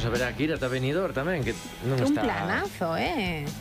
haberá que ir ata Benidorm tamén, que non Un está... planazo,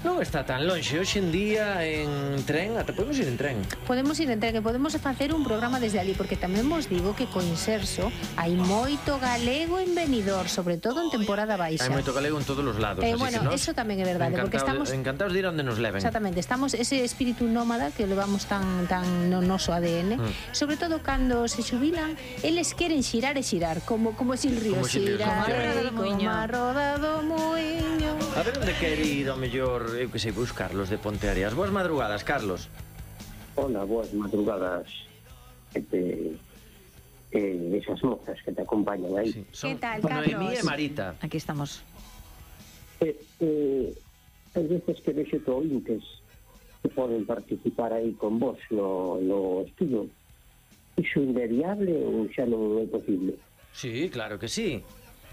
Non está tan lonxe. Hoxe en día en tren, ata podemos ir en tren. Podemos ir entre que podemos facer un programa desde ali, porque tamén vos digo que co Inserso hai moito galego en Benidorm, sobre todo en temporada baixa. Hai moito galego en todos os lados, así bueno, que eso tamén é verdade, porque estamos encantados de ir onde nos leven. Exactamente, estamos ese espírito nómada que levamos tan no noso ADN, sobre todo cando se xubilan, eles queren xirar e xirar, como Silrio, xirar como a roda do muiño. A ver onde quere ir ao mellor, eu que sei, buscar los de Ponteareas. Boas madrugadas, Carlos. Hola, boas madrugadas. Esas mozas que te acompañan aí. Sí, son ¿Qué tal, Carlos? Noemí e Marita. Aquí estamos. As veces que vexo ointes que poden participar aí con vos no estudo, iso inviable ou xa non é posible? Sí, claro que sí.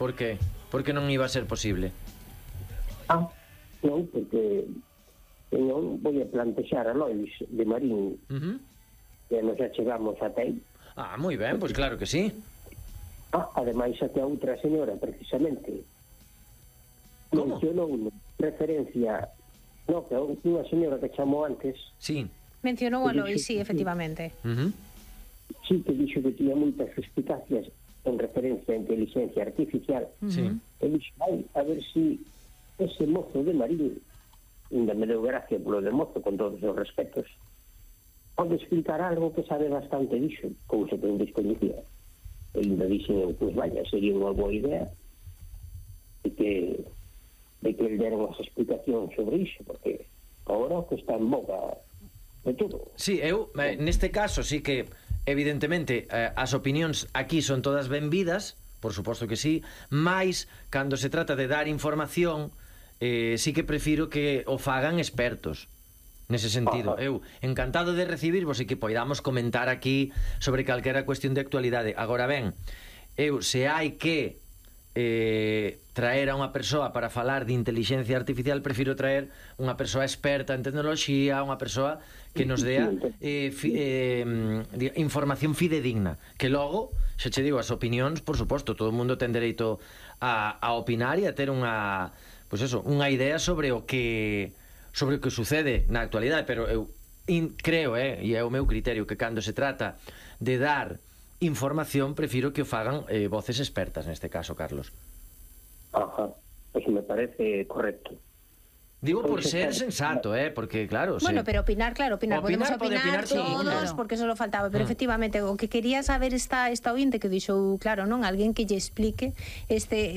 Por qué? Porque non iba a ser posible. Non, porque non vou a plantexar a Lois de Marín que nos xa chegamos ata aí. Moi ben, pois claro que sí. Ademais, até a outra señora, precisamente, mencionou referencia, que unha señora que chamou antes. Sí. Mencionou a Lois, sí, efectivamente. Sí, que dixo que tiña moitas suspicacias en referencia a inteligencia artificial. Sí. E dixo, a ver si ese mozo de Marín, ainda me deu gracia polo de mozo, con todos os respetos, pode explicar algo que sabe bastante disso, cousa que non descoñecía. E ainda dixen, pois vaya, sería unha boa idea de que ele dera unhas explicacións sobre iso, porque agora que está en boga de todo. Sí, eu, neste caso, sí que evidentemente as opinións aquí son todas benvidas, por suposto que sí, mais cando se trata de dar información, sí que prefiro que o fagan expertos. Nese sentido, eu encantado de recibirvos e que poidamos comentar aquí sobre calquera cuestión de actualidade. Agora ben, eu se hai que traer a unha persoa para falar de inteligencia artificial, prefiro traer unha persoa experta en tecnoloxía, unha persoa que nos dea información fidedigna, que logo, xa che digo, as opinións, por suposto, todo o mundo ten dereito a opinar e a ter unha, pois eso, unha idea sobre o que sucede na actualidade, pero eu creo, e é o meu criterio, que cando se trata de dar información, prefiro que o fagan voces expertas, neste caso, Carlos. Pois me parece correcto. Digo por ser sensato, porque claro... Bueno, pero opinar, claro, podemos opinar todos, claro. porque eso lo faltaba, pero efectivamente, o que quería saber esta ointe que dixo, claro, non, alguén que lle explique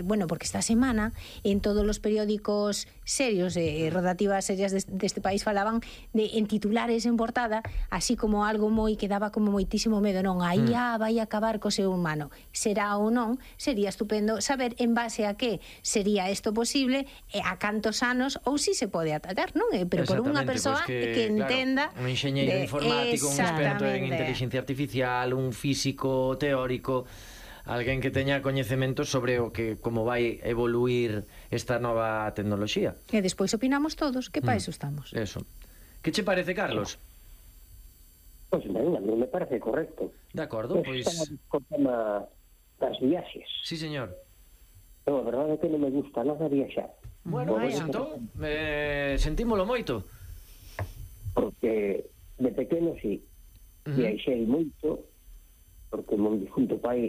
bueno, porque esta semana en todos os periódicos serios rodativas serias deste país falaban en titulares en portada, así como algo moi que daba como moitísimo medo, non, a IA vai acabar co ser humano. Será ou non, sería estupendo saber en base a que sería isto posible, a cantos anos, ou si se pode atallar, non? Pero por unha persoa pues que entenda, claro, un enxeñeiro informático, un experto en inteligencia artificial, un físico teórico, alguén que teña coñecementos sobre o que como vai evoluir esta nova tecnoloxía. E despois opinamos todos, que para iso estamos. Eso. Que che parece, Carlos? Pois ben, a mí me parece correcto. De acordo, pois... Estamos co tema das viaxes. Sí, señor. Non, a verdade é que non me gusta nada viaxar. Bueno, pois entón, sentímolo moito. Porque de pequeno, sí, viaxei moito, porque mon difunto pai